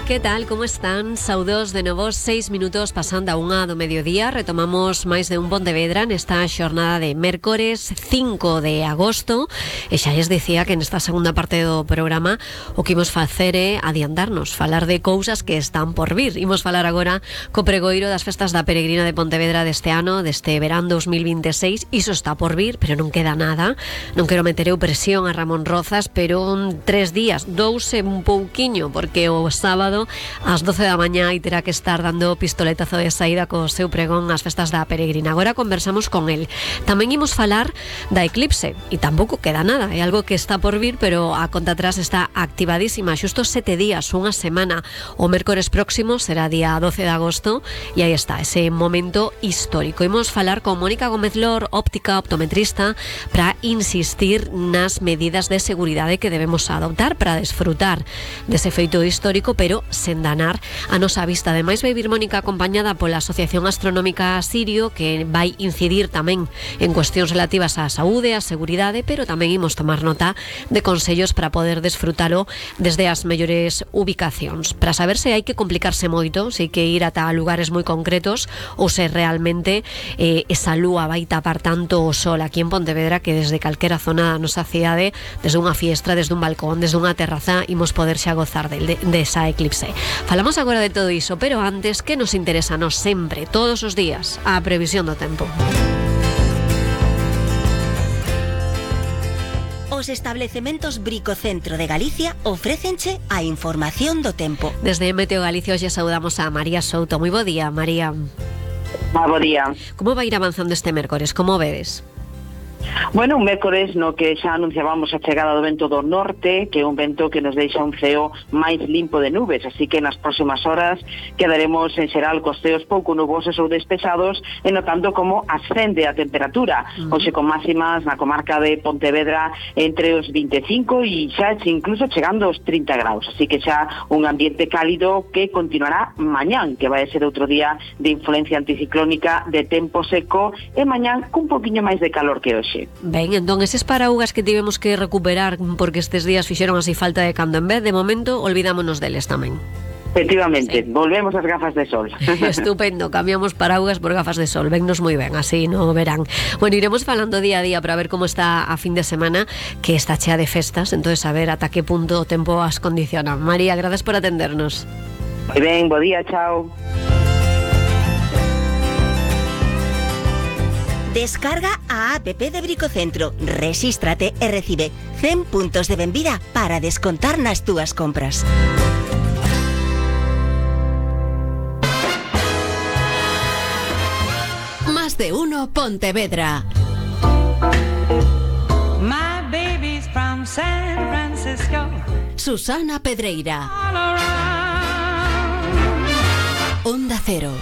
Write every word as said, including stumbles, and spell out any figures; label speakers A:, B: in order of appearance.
A: Que tal, como están? Saudos de novo, seis minutos pasando a unha do mediodía. Retomamos máis de un Pontevedra nesta xornada de mércores cinco de agosto. E xa lles dicía que nesta segunda parte do programa o que imos facer é adiantarnos, falar de cousas que están por vir. Imos falar agora co pregoiro das festas da Peregrina de Pontevedra deste ano, deste verán dos mil veintiséis. Iso está por vir, pero non queda nada. Non quero meter eu presión a Ramón Rozas, pero tres días, dous e un pouquiño, porque o sábado ás doce da mañá e terá que estar dando pistoletazo de saída co seu pregón ás festas da Peregrina. Agora conversamos con el. Tamén imos falar da eclipse e tampouco queda nada, é algo que está por vir, pero a conta atrás está activadísima. Xusto sete días, unha semana. O mércores próximo será día doce de agosto e aí está, ese momento histórico. Imos falar con Mónica Gómez Lor, óptica, optometrista, para insistir nas medidas de seguridade que debemos adoptar para desfrutar dese feito histórico, pero sen danar a nosa vista. Ademais vai vir Mónica acompañada pola Asociación Astronómica Sirio, que vai incidir tamén en cuestións relativas á saúde, á seguridade, pero tamén imos tomar nota de consellos para poder desfrutalo desde as mellores ubicacións, para saber se hai que complicarse moito, se hai que ir ata lugares moi concretos ou se realmente eh, esa lúa vai tapar tanto o sol aquí en Pontevedra que desde calquera zona da nosa cidade, desde unha fiestra, desde un balcón, desde unha terraza, imos poder xa gozar de, de, de esa eclipse. Falamos agora de todo iso, pero antes, que nos interesa nos sempre, todos os días, a previsión do tempo.
B: Os establecementos Bricocentro de Galicia ofrécenche a información do tempo.
A: Desde Meteo Galicia hoxe saudamos a María Souto. Moi bo día, María.
C: Moi bo día.
A: Como vai ir avanzando este mércores? Como vedes?
C: Bueno, un mércores no que xa anunciábamos a chegada do vento do norte, que é un vento que nos deixa un ceo máis limpo de nubes, así que nas próximas horas quedaremos en xeral cos ceos pouco nubosos ou despejados e notando como ascende a temperatura. Uh-huh. Hoxe con máximas na comarca de Pontevedra entre os vinte e cinco e xa incluso chegando aos trinta graus, así que xa un ambiente cálido que continuará mañán, que vai ser outro día de influencia anticiclónica, de tempo seco, e mañán cun poquinho máis de calor que hoxe.
A: Ben, entón, eses paraugas que tivemos que recuperar porque estes días fixeron así falta de cando en vez, de momento, olvidámonos deles tamén.
C: Efectivamente, sí. Volvemos as gafas de sol.
A: Estupendo, cambiamos paraugas por gafas de sol. Vennos moi ben, así no verán. Bueno, iremos falando día a día para ver como está a fin de semana, que está chea de festas, entonces a ver ata que punto o tempo as condiciona. María, gracias por atendernos.
C: Moi ben, bo día, chao.
B: Descarga a app de Bricocentro, rexístrate e recibe cen puntos de benvida para descontar nas túas compras.
D: Más de uno Pontevedra.
E: My baby's from San Francisco.
D: Susana Pedreira.
E: All around.
D: Onda Cero.